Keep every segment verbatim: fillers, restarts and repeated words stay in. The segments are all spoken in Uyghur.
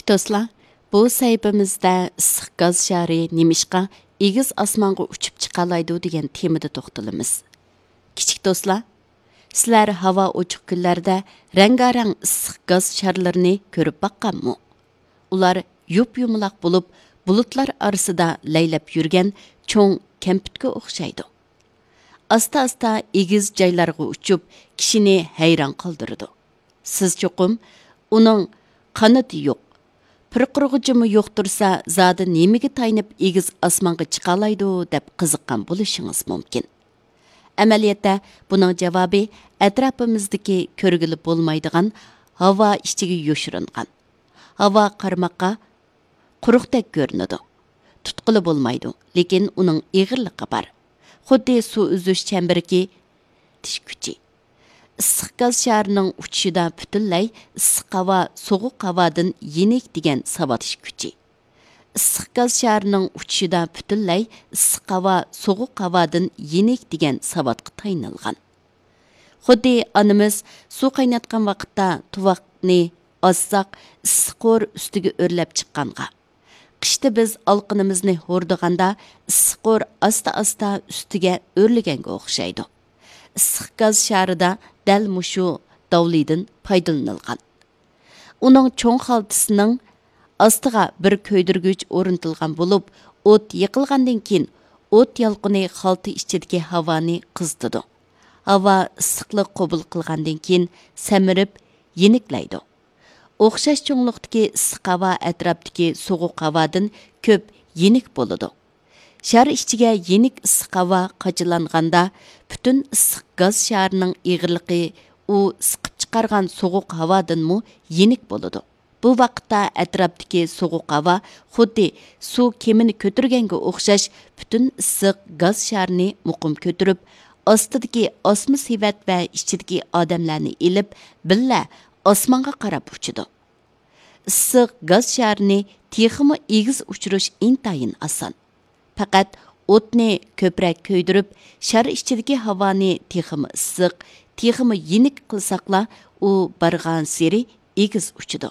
دوستلار، بۇ سەھىپىمىزدە ئىسسىق گاز شارى نېمىشقا ئېگىز ئاسمانغا ئۇچۇپ چىقالايدۇ دېگەن تېمىدا توختىلىمىز. كىچىك دوستلار، سىلەر ھاۋا ئوچۇق كۈنلەردە رەڭگارەڭ ئىسسىق گاز شارلىرىنى كۆرۈپ باققانمۇ؟ ئۇلار يۇپيۇمىلاق بولۇپ، بۇلۇتلار ئارىسىدا لەيلەپ يۈرگەن چوڭ كەمپۈتكە ئوخشايدۇ. ئاستا-ئاستا ئېگىز جايلارغا ئۇچۇپ، كىشىنى ھەيران قالدۇرىدۇ. سىز چوقۇم، ئۇنىڭ قانىتى يوق، پىرقىرىغۇچىمۇ يوق تۇرسا، زادى نېمىگە تايىنىپ ئېگىز ئاسمانغا چىقالايدۇ دەپ قىزىققان بولۇشىڭىز مۇمكىن. ئەمەلىيەتتە، بۇنىڭ جاۋابى ئەتراپىمىزدىكى كۆرگىلى بولمايدىغان ھاۋا ئىچىگە يوشۇرۇنغان. ھاۋا قارىماققا قۇرۇقتەك كۆرۈنىدۇ. تۇتقىلى بولمايدۇ، لېكىن ئۇنىڭ ئېغىرلىقى بار. خۇددى سۇ ئۈزۈش چەمبىرىكى تىش كۈچى. ئىسسىق گاز شارىنىڭ ئۇچۇشىدا پۈتۈنلەي ئىسسىق ھاۋا سوغۇق ھاۋادىن يېنىك دېگەن ساۋاتىش كۈچى. ئىسسىق گاز شارىنىڭ ئۇچۇشىدا پۈتۈنلەي ئىسسىق ھاۋا سوغۇق ھاۋادىن يېنىك دېگەن ساۋاتقا تايىنىلغان. خۇددى ئانىمىز سۇ قايناتقان ۋاقىتتا تۇۋاقنى ئاسساق، ئىسسىق ھور ئۈستىگە ئۆرلەپ چىققانغا، قىشتا بىز ئالقىنىمىزنى ھوردىغاندا، ئىسسىق ھور ئاستا-ئاستا ئۈستىگە ئۆرلىگەنگە ئوخشايدۇ. ئىسسىق گاز شارىدا دەل مۇشۇ داۋلىدىن پايدىلىنىلغان. ئۇنىڭ چوڭ خالتىسىنىڭ ئاستىغا بىر كۆيدۈرگۈچ ئورنىتىلغان بولۇپ، ئوت يېقىلغاندىن كېيىن، ئوت يالقۇنى خالتا ئىچىدىكى ھاۋانى قىزىتىدۇ. ھاۋا ئىسسىقلىق قوبۇل قىلغاندىن كېيىن، سەمرىپ يېنىكلەيدۇ. ئوخشاش چوڭلۇقتىكى ئىسسىق ھاۋا ئەتراپتىكى سوغۇق ھاۋادىن كۆپ يېنىك بولىدۇ. شار ئىچىگە يېنىك ئىسسىق ھاۋا قاچىلانغاندا، پۈتۈن ئىسسىق گاز شارىنىڭ ئېغىرلىقى ئۇ سىقىپ چىقارغان سوغۇق ھاۋادىنمۇ يېنىك بولىدۇ. بۇ ۋاقىتتا ئەتراپتىكى سوغۇق ھاۋا خۇددى سۇ كېمىنى كۆتۈرگەنگە ئوخشاش پۈتۈن ئىسسىق گاز شارىنى مۇقىم كۆتۈرۈپ، ئاستىدىكى ئاسما سېۋەت ۋە ئىچىدىكى ئادەملەرنى ئېلىپ، بىللە ئاسمانغا قاراپ ئۇچىدۇ. ئىسسىق گاز شارىنى تېخىمۇ ئېگىز ئۇچۇرۇش ئىنتايىن ئاسان. پەقەت ئوتنى كۆپرەك كۆيدۈرۈپ، شار ئىچىدىكى ھاۋانى تېخىمۇ ئىسسىق، تېخىمۇ يېنىك قىلساقلا، ئۇ بارغانسېرى ئېگىز ئۇچىدۇ.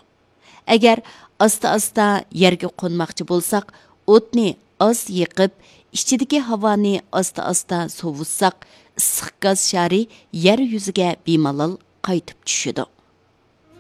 ئەگەر ئاستا-ئاستا يەرگە قونماقچى بولساق، ئوتنى ئاز يېقىپ، ئىچىدىكى ھاۋانى ئاستا-ئاستا سوۋۇتساق، ئىسسىق گاز شارى يەر يۈزىگە بىمالال قايتىپ چۈشىدۇ.